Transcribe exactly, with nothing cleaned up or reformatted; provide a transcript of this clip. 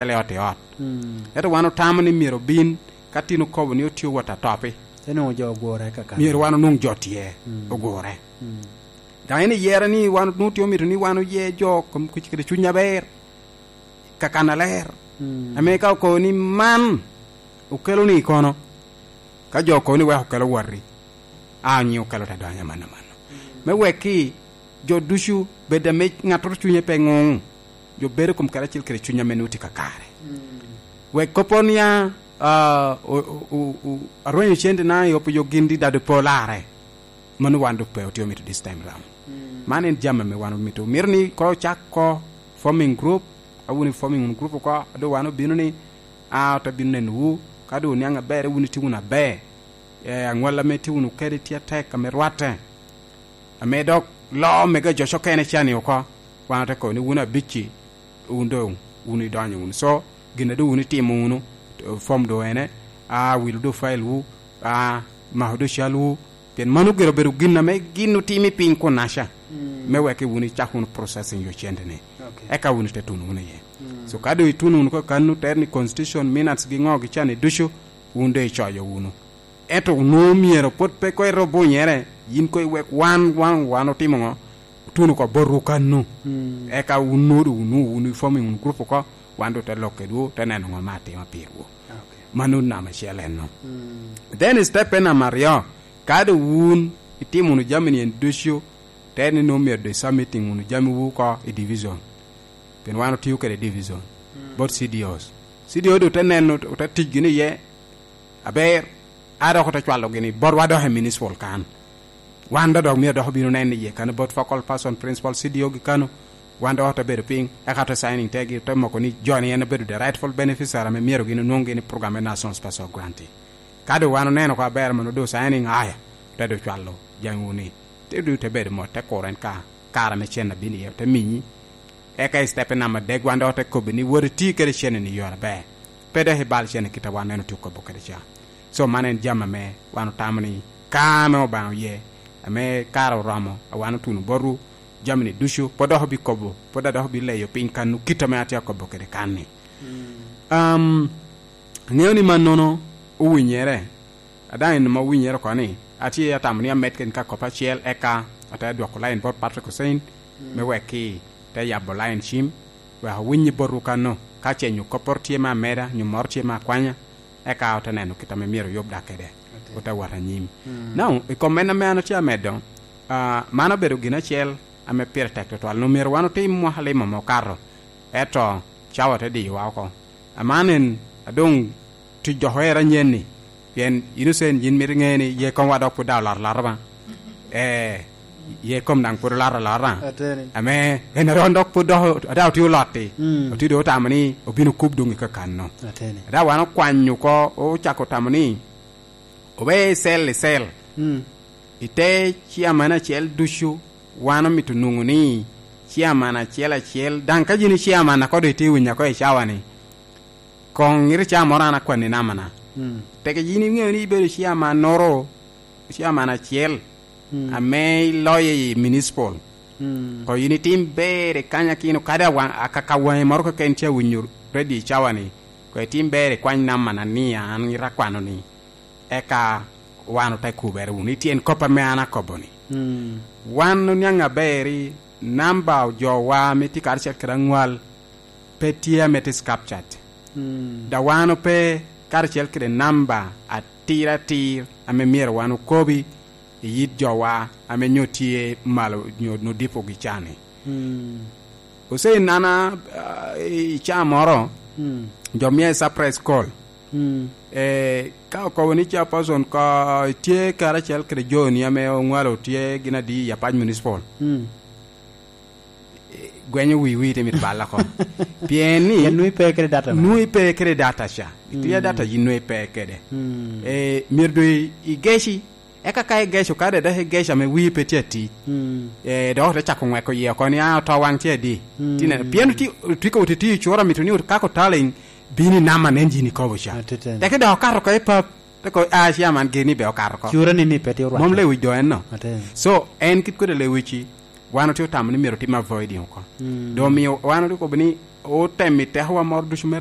kele ot i ot. Mm. Ento wan otamo ni myero obin, ka tin okobo ni otye wot atopi. Te nwoŋo jo ogure kakano. Myero wan onwoŋ jo tye, mm, ogure. Mm. Daŋ en iyero ni wan onwoŋo tye omito ni wan oye jo kom-, kede cuny aber, kakan aler. Mm. Ame ka okobo ni man okelo ni kono, ka jo okobo ni wek okelo watti, a onyo okelo te donyo amanno amanno. Mm. Me wek ki jo ducu bed ame ŋattoro cunye pe ŋuŋ, jo bedo i kom kare acel kede cuny ame nwoŋo tye kakare. Mm. Wek kopporo ni a, a, o-, o-, o-, o-, arwenyo cente na i opo yo gin di dado pe olarre. Mano wan dok pe otye omito this time round. Mm. Man en jami ame wan omito. Mito ni ko ocak ko forming group, a wun i forming wun group oko, a doŋ wan obino ni, a, ote bino nenowu, ka doŋ oniaŋ aber, wun itye wunu aber. Eh, aŋwal ame itye wunu kede tye atek ame rwatte. Ame dok loo mege jo ocokene ca ni oko, wan ote kobo ni wun abicci, wun doŋ, wun idonyo wunu. So, gin a doŋ wun itimo wunu, form doŋ ene, a, wilo doŋ file wu, a, mako doŋ cal wu, pien mano gire obedo gin ame gin otimo i piny kun-naca, mm, me wek wun icak wunu processing yo cente ni. Okay. Eka wun ite tuno wunu iye. Mm. So, ka doŋ ituno wunu kakano, ter ni constitution, minutes gi ŋo gi ca ni ducu, wun doŋ icoyo wunu. Ento onwoŋo myero pwod pe koŋ ite obunyere, yin koŋ iwek wan, wan, wan otimo ŋo? Otuno oko botwu kannu. Mm. Eka wun nwoŋo doŋ wun, wun i forming wun group oko, wan doŋ te lok kedwu, te neno ŋo me atima pirwu. Okay. Mano namba acel enno. Mm. Then step en namba aryo, ka doŋ wun itimo wunu jami ni en ducu, te ni nwoŋo myero doŋ isubmitting wunu jamiwu oko i division. Pien wan otio kede division, mm, bot C D Os. C D O doŋ te neno, ote tic gini iye, aber, a dok ote cwalo gini botwa dok i municipal kan. Wan dok, dok myero dok obino neno iye kano bot focal person, principal C D O gi kano. Wan dok ote bedo piny, eka ote signing te gi, ote moko ni jo-ni en obedo the rightful beneficiary ame myero gin onwoŋ gini program me National Special Grant. Ka doŋ wan oneno oko aber, mono doŋ signing, aya, ote doŋ cwalo jamiwu ni. Te doŋ te bedo mot, te kuro en ka kare ame cen abino iye, te miyi. Eka i step namba adek, wan dok ote kobbi ni wot iti kede cen-ni i yore aber. Pe dok ibal cen i kit a wan en otye okobo kede ca. So, man en jami ame wan otamo ni ka ame Obaŋa oye, ame kare oromo, a wan otuno botwu, jami-ni ducu, pwod dok obikobo, pwod a dok obileyo piny kannu kit ame atye akobo kede kan-ni. Mm. Um, aŋeo ni mannono owinyere, a daŋ en mom owinyere oko ni, atye atamo ni amed kede ka kop acel, eka ate dwoko lain bot Patrick Hussein, mm, me wek ki te yabo lain cim, wek owiny botwu kanno, ka ce nyo kopporo tye me ameda, nyo moro tye me akwanya, eka ote neno kit ame myero oyub dak kede, ote wot anyim. Mm. Now, i kom en ame an atye amedo, ah, man obedo gin acel ame pire tek tutwal, onwoŋo myero wan otim mwaka lim ame okato, ento cawa te diyowa oko. Aman en, a doŋ tic dok oera anyen-ni, pien yin Hussein, yin mito iŋe ni ye komwa dok pwod daŋ olot alota ba. Ee, ye kom daŋ pwod olot alota. Ateni. Ame en aron dok pwod dok, a daŋ otye olot-ti. Mm. Otye doŋ otamo ni obino kub doŋ i kakanno. Ateni. A daŋ wan okwanyo oko, ocako tamo ni obe i cell i cell. Mm. I te ciaman acel ducu, wan omito nwoŋo ni ciaman acel acel, daŋ ka yin i ciaman a kodo itye winyo ako i cawa-ni, koŋ iri ca moro an akwanni namana. Mm. Teke yin iŋeo ni ibedo ciamannoro, ciaman acel, mm, ame iloyo i municipal. Mm. Koŋ yin itim ber i kanya kino, kadi awaŋ-, akaka waŋi moro keken tye awinyo ready i cawa-ni, koŋ itim ber ikwany namana ni an ŋit akwano-ni. Eka wan ote kubere wunu i tyen kop ame an akobo-ni. Mm. Wan oniaŋ aber i namba jowa ame tye karacel kede aŋwal pe tye ame tye captured. Mm. Daŋ wan ope karacel kede namba atir atir ame myero wan okobi i yit jowa ame nyo tye malo nyo nodipogi ca-ni. Mm. Ose nana, ah, i caa moro, mm, jo mia i surprise call. Mm. Eh, ka okobo ni chairperson ko tye karacel kede joni ame oŋwalo tye gin adi i Apac Municipal. Mm. Eh, gwenyo wi wi te mit balla ko. Pien ni pien nwoŋo ipe kede data na. Nwoŋo ipe kede data ca. Itye, mm, data yin nwoŋo ipe kede. Mm. Eh, myero doŋ i-, igeci. Eka ka igeco, ka dede igeco ame wii pe tye atic, mm, eh, dok ote cako ŋweko iye oko ni, "Ah, oto waŋ tye adi?" Mm. Ti neno, pien oti-, otiko oti tiyo cura mito ni ot-, ka ko talent bino i nama nen jini kobo ca. Atiteni. Teke dok okato oko i pap, te ko, "Ah, cia man gini be okato oko." Cura ni ni pe tye orwate. Mom lewic do en no. Atiteni. So, en kit kwede lewici, Wan otye otamo ni myero otim avoiding oko. Doŋ omio wan otye okobo ni otem i tekowa moro ducu me